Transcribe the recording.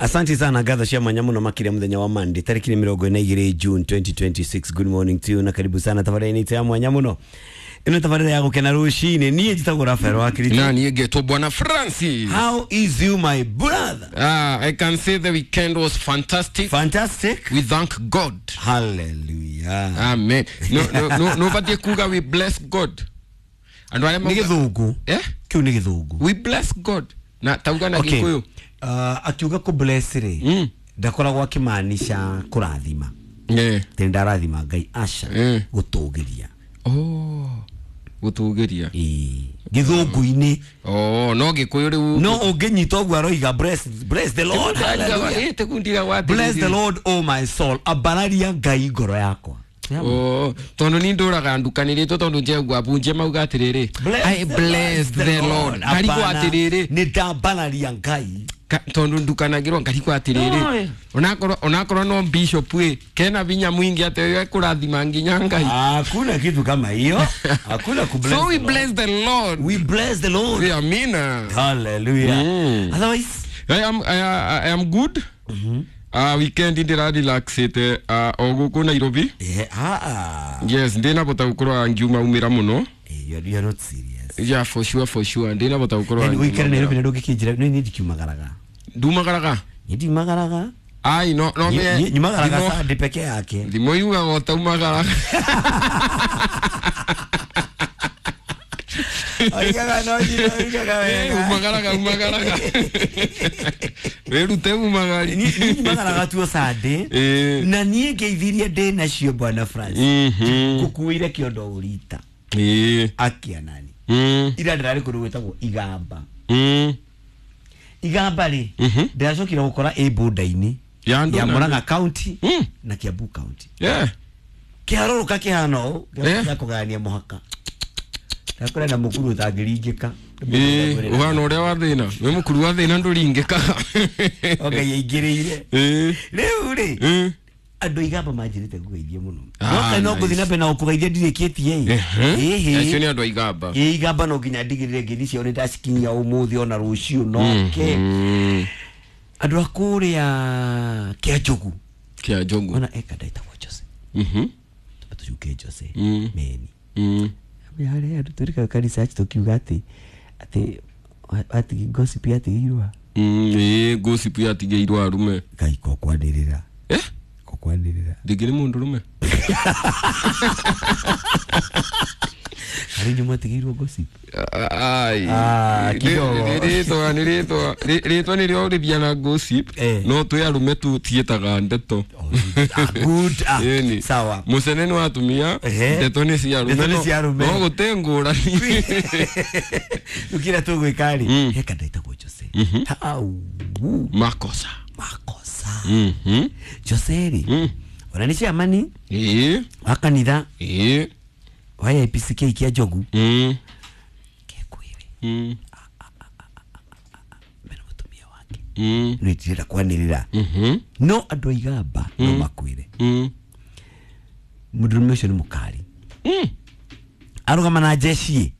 Asante sana ngatho cia mwanya muno makiria muthenya wa Monday tariki 22 June 2026. Good morning to you na karibu sana tabarĩra-inĩ itũ ya mwanya muno. Ĩno tabarĩra ya gũkena rũcinĩ. Niĩ njĩtagwo Rafael wa Kiriti. Na niĩ ngetwo Bwana Francis. How is you my brother? I can say the weekend was fantastic. Fantastic. We thank God. Hallelujah. Amen. No no no no batie kuga we bless God. Andũ arĩa Nĩ gĩthũngũ. Eh? Kĩu nĩ gĩthũngũ. We bless God. Na tauga na Gĩkũyũ. Akiuga kũ bless rĩ, ndakoragwo akĩmaanisha kũrathima. Yeah. Tĩ ndarathima Ngai aca. Gũtũgĩria. Oh. Gũtũgĩria. Ĩĩ. Gĩthũngũ-inĩ. Oh, no Gĩkũyũ rĩu. No ũngĩnyita ũguo aroiga bless the Lord. Hallelujah. Bless the Lord, oh my soul. Ambararia Ngai ngoro yakwa. Oh, tondu ni nduraga ndukanĩrĩtwo tondu njegua bunje mauga atĩrĩrĩ, I bless the Lord. Ngarigwo atĩrĩrĩ, nĩ ndambararia Ngai tondu ndukanagĩrwo ngarigwo atĩrĩrĩ, onakorwo no bishop ĩ kena vinya mwingi atĩ ekũrathima nginya Ngai. Hakuna kitu kama hiyo. Hakuna ku bless. So we bless the Lord. We bless the Lord. Yeah, amina. Hallelujah. Otherwise I am good. Weekend ndira relaxete o guku Nairobi. Yes, ndina bota gukorwo ngiuma umira muno. You are not serious. Yeah, for sure, for sure. Ndina bota gukorwo. And weekend Nairobi ndũngĩkĩnjĩra nĩ ndikiumagaraga. Ndumagaraga? Ndiumagaraga. Ai no no me. Nyumagaraga Sunday peke yake. Thimo yugaga ũtaumagaraga. Oigaga no oigaga wega. Umagaraga umagaraga. Wĩrute umagari. Niĩ nyumagaraga tuo Sunday. Na niĩ ngeithirie ndĩ nacio Bwana Francis. Ngũkuĩire kĩondo ũrita. Akia nani. Ira ndĩrarĩ kũndũ gwĩtagwo Igamba. Igamba rĩ, ndĩracokire gũkora ĩ border-inĩ ya Murang'a County na Kiambu County. Kĩharũrũka kĩhana ũũ gĩa kũgayania mũhaka. Ndakora na mũkuru ũtangĩringĩka. Ũhana ũrĩa wa thĩna. Wĩ mũkuru wa thĩna ndũringĩkaga. Okay, yaingĩrĩire. Rĩu rĩ, andũ Igamba manjĩrĩte ngũgeithie mũno. No no ngũthiĩ na mbere na gũkũgeithia ndirĩkĩtie ĩ. Acio nĩ andũ a Igamba. Ĩ Igamba no nginya ndigĩrĩre ngeithi ciao nĩ ndacikinyia ũmũthĩ ona rũciũ noke. Andũ a kũrĩa Kĩanjogu. Kĩanjogu. Ona eka ndaitagwo Jose. Tũcuke Jose. Meni. Harĩa andũ tũrĩkaga kanitha tũkiuga atĩ atĩ gossip yatigĩirwo. Ĩ gossip yatigĩirwo arume. Ngai ko kwanĩrĩra. Kwanĩrĩra. Ndingĩrĩ mũndũ rũme. Harĩ nyuma atigĩirwo gossip. Ai. Kidogo. Rĩtwa nĩ rĩtwa. Rĩtwa nĩrĩo rĩthia na gossip. No twĩ arume tũtiĩtaga ndeto. Good. Sawa. Mũcene nĩ wa atumia, ndeto nĩ cia arume. Ndeto nĩ cia arume. No gũtĩ ngũrani. Rĩu kĩrĩa tũgwĩka rĩ, he kanda ĩtagwo Jose. Hau. Makosa. Makosa. Jose rĩ, ona nĩ chairman wa kanitha wa APCK kĩa Njogu. Kekwĩre. Mena mũtumia wake. Nĩ ndĩrenda kwanĩrĩra. No andũ a Igamba no makwĩre. Mũndũrũme ũcio nĩ mũkari. Arũgama na jeshi.